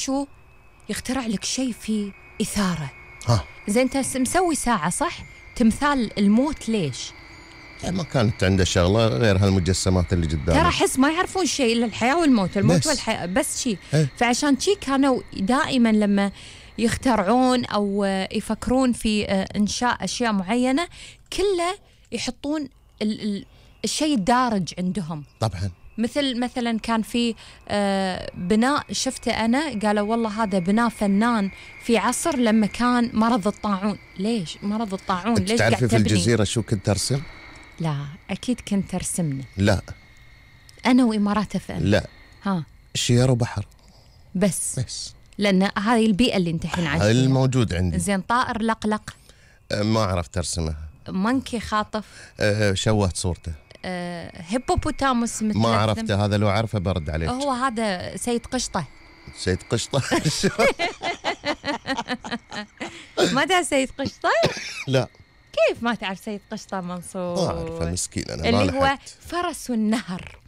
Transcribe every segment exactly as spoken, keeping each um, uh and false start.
شو يخترع لك شيء فيه إثارة. ها زين أنت مسوي ساعة صح؟ تمثال الموت ليش؟ ما كانت عنده شغلة غير هالمجسمات اللي قدامه. ترى حس ما يعرفون شيء إلا الحياة والموت، الموت بس. والحياة بس شيء. ايه؟ فعشان شيء كانوا دائما لما يخترعون أو يفكرون في إنشاء أشياء معينة كله يحطون ال ال الشيء الدارج عندهم. طبعا مثل مثلا كان في بناء شفته أنا، قالوا والله هذا بناء فنان في عصر لما كان مرض الطاعون. ليش مرض الطاعون؟ ليش تعرفي في تبني؟ الجزيرة شو كنت أرسم؟ لا أكيد كنت أرسمنا لا أنا وإمارات أف أم. لا ها شير وبحر بس بس، لأن هذه البيئة اللي أنت الحين عايش فيها. الموجود عندي. زين طائر لقلق؟ أه ما عرفت أرسمه. منكي خاطف؟ أه شوهت صورته. أه هيبوبوتاموس متلثم؟ ما عرفته، هذا لو عرفه برد عليك. هو هذا سيد قشطة. سيد قشطة. ما تعرف سيد قشطة؟ لا كيف ما تعرف سيد قشطة منصور؟ ما أعرفه مسكين أنا. اللي ما هو لحقت. فرس النهر.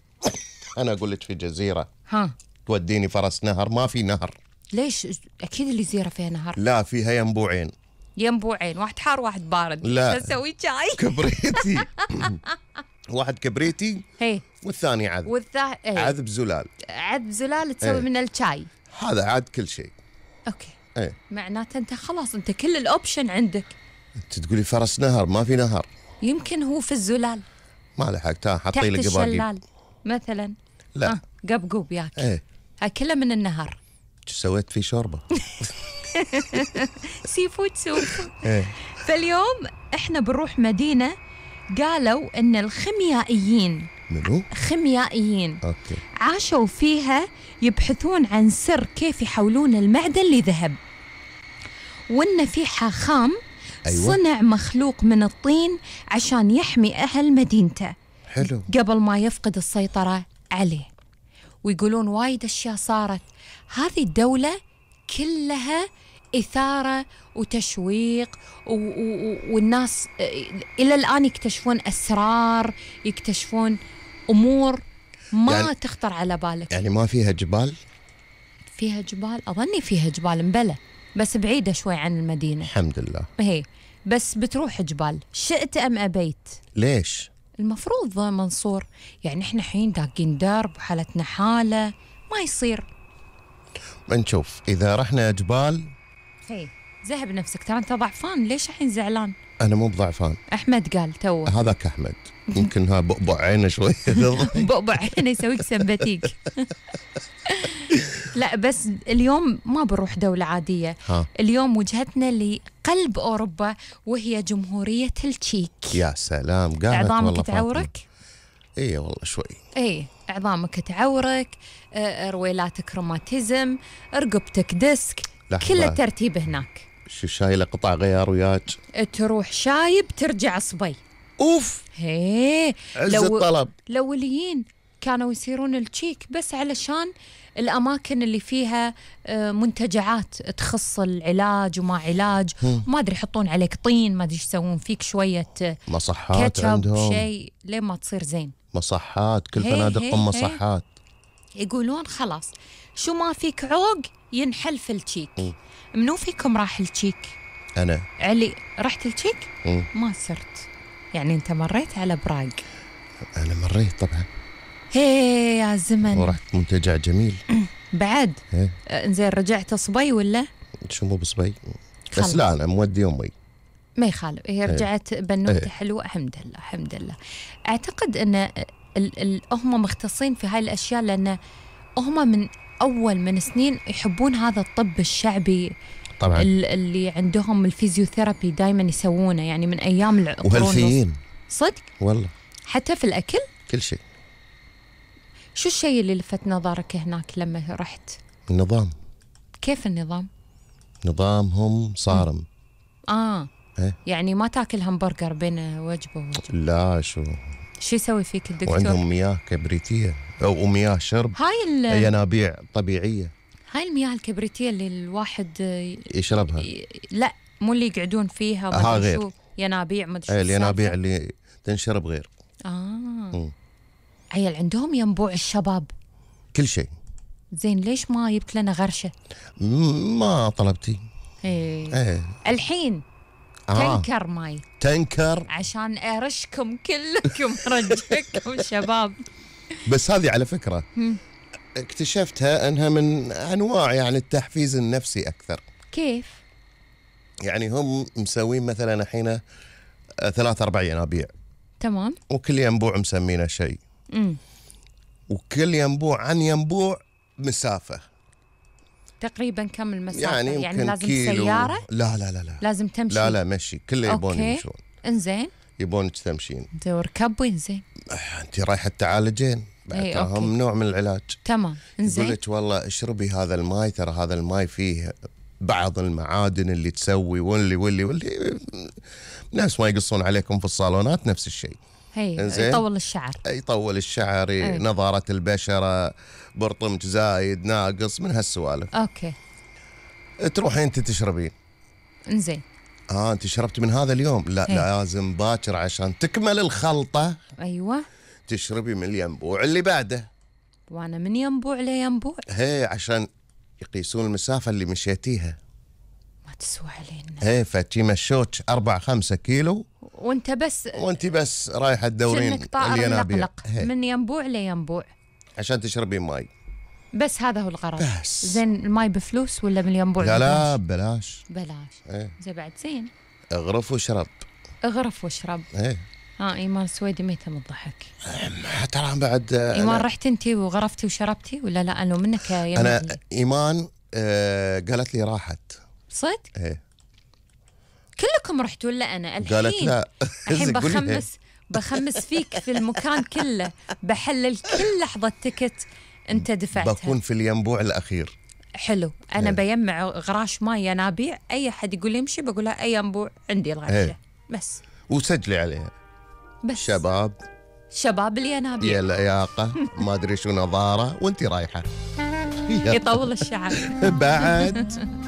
أنا أقول لك في جزيرة ها توديني فرس نهر؟ ما في نهر. ليش؟ أكيد الجزيرة فيها نهر. لا فيها ينبوعين. ينبوعين، واحد حار واحد بارد. لا. تسوي شاي. كبريتي. واحد كبريتي هي والثاني عذب. والثا ايه. عذب زلال. عذب زلال تسوي ايه. من الشاي. هذا عاد كل شيء. اوكي ايه معناته انت خلاص انت كل الاوبشن عندك. انت تقولي فرس نهر؟ ما في نهر. يمكن هو في الزلال ما لحقت. تحت حطي لي قباقيب. الشلال مثلا. لا آه. قبقوب ياك. ايه هاي كلها من النهر. شو سويت فيه شوربه؟ سي فود سوب. ايه فاليوم احنا بنروح مدينة قالوا ان الخيميائيين منو؟ خيميائيين اوكي عاشوا فيها يبحثون عن سر كيف يحولون المعدن لذهب، وإن في حاخام أيوة. صنع مخلوق من الطين عشان يحمي أهل مدينته حلو. قبل ما يفقد السيطرة عليه. ويقولون وايد أشياء صارت. هذه الدولة كلها إثارة وتشويق و- و- والناس إلى الآن يكتشفون أسرار، يكتشفون أمور ما يعني تخطر على بالك. يعني ما فيها جبال؟ فيها جبال، أظني فيها جبال مبلى بس بعيدة شوي عن المدينة. الحمد لله. هي بس بتروح جبال شئت أم أبيت. ليش؟ المفروض منصور، يعني إحنا حين داقين درب وحالتنا حالة ما يصير. بنشوف إذا رحنا جبال. هي ذهب نفسك، ترى أنت ضعفان. ليش الحين زعلان؟ أنا مو بضعفان. أحمد قال توه. هذاك أحمد يمكن ها بؤبؤ عينه شوي. بؤبؤ عينه يسويك سمباتيك. لا بس اليوم ما بنروح دولة عادية. ها. اليوم وجهتنا لقلب أوروبا وهي جمهورية التشيك. يا سلام قالت عظامك والله تعورك؟ ايه والله شوي. ايه عظامك تعورك، اه رويلاتك روماتيزم، رقبتك ديسك، كل الترتيب هناك. شو شايله قطع غيار وياك؟ تروح شايب ترجع صبي. اوف هيه عز لو الطلب. الأوليين كانوا يصيرون التشيك بس علشان الأماكن اللي فيها منتجعات تخص العلاج وما علاج، ما أدري يحطون عليك طين، ما أدري يسوون فيك شوية مصحات عندهم شيء ليه ما تصير زين. مصحات كل هي فنادقهم هي مصحات. يقولون خلاص شو ما فيك عوق ينحل في التشيك. منو فيكم راح التشيك؟ أنا. علي رحت التشيك؟ مم. ما صرت. يعني أنت مريت على براغ؟ أنا مريت طبعا. هي يا زمن. ورحت منتجع جميل. بعد هي. انزين رجعت صبي ولا؟ شو مو بصبي بس خلص. لا أنا مودي أمي. ما يخالف، هي رجعت بنوتة حلوة الحمد لله الحمد لله. أعتقد أن ال ال هم مختصين في هاي الأشياء لأن هم من أول من سنين يحبون هذا الطب الشعبي طبعا اللي عندهم الفيزيوثيرابي دايما يسوونه، يعني من أيام القرون. وهلفيين صدق؟ والله حتى في الأكل؟ كل شيء. شو الشيء اللي لفت نظرك هناك لما رحت؟ النظام. كيف النظام؟ نظامهم صارم. آه إيه؟ يعني ما تاكل همبرجر بين وجبة ووجبة. لا شو شو يسوي فيك الدكتور؟ وعندهم مياه كبريتية أو مياه شرب. هاي ينابيع طبيعية. هاي المياه الكبريتية اللي الواحد يشربها. ي... لا مو اللي يقعدون فيها ما ها ادري غير. شو ينابيع ما ادري شو ايه الينابيع السالفة. اللي تنشرب غير. اه مم. عيل عندهم ينبوع الشباب. كل شيء. زين ليش ما جبت لنا غرشة؟ ما طلبتي. ايه, ايه. الحين آه. تنكر ماي تنكر عشان ارشكم كلكم رجعكم شباب. بس هذه على فكرة اكتشفتها انها من انواع يعني التحفيز النفسي اكثر. كيف؟ يعني هم مسوين مثلا الحين ثلاث اربع ينابيع. تمام. وكل ينبوع مسمينه شيء. امم وكل ينبوع عن ينبوع مسافة. تقريبا كم المسافة؟ يعني, يعني لازم كيلو. سيارة؟ لا لا لا لا لازم تمشي؟ لا لا مشي، كله يبون أوكي. يمشون. انزين. يبونك تمشين. زين وركب زين. انت رايحة تعالجين بعد هم نوع من العلاج. تمام. انزين. يقول لك والله اشربي هذا الماي، ترى هذا الماي فيه بعض المعادن اللي تسوي واللي واللي واللي ناس ما يقصون عليكم في الصالونات نفس الشيء. هي يطول الشعر. يطول الشعر، أي. نظارة البشرة، برطمج زايد ناقص، من هالسوالف. اوكي. تروحين انت تشربين. انزين. اه انت شربت من هذا اليوم؟ لا هي. لازم باكر عشان تكمل الخلطة. ايوه. تشربي من الينبوع اللي بعده. وانا من ينبوع لينبوع؟ هي عشان يقيسون المسافة اللي مشيتيها. ما تسوى علينا. هي فتي مشوك أربعة خمسة كيلو وانت بس وانت بس رايحة تدورين الينابيع من ينبوع لينبوع عشان تشربين ماي. بس هذا هو الغرض. زين الماي بفلوس ولا من ينبوع؟ لا لا ببلاش. بلاش. ايه. زين بعد زين. اغرف واشرب. اغرف واشرب. ايه. ها ايمان السويدي ميته من الضحك. ترى بعد ايمان رحت انتي وغرفتي وشربتي ولا لا؟ انا منك يا انا ايمان آه قالت لي راحت. صدق؟ ايه. كلكم رحتوا ولا انا؟ الحين قالت لا. الحين بخمس بخمس فيك في المكان كله، بحلل كل لحظة تكت انت دفعتها. بكون في الينبوع الاخير. حلو. انا ايه. بيمع غراش ماي ينابيع، اي حد يقول يمشي بقول له اي ينبوع عندي الغرشه. ايه. بس وسجلي عليها. بس شباب شباب الينابيع يا لياقة ما ادري شو نظارة وانت رايحة يطول الشعر بعد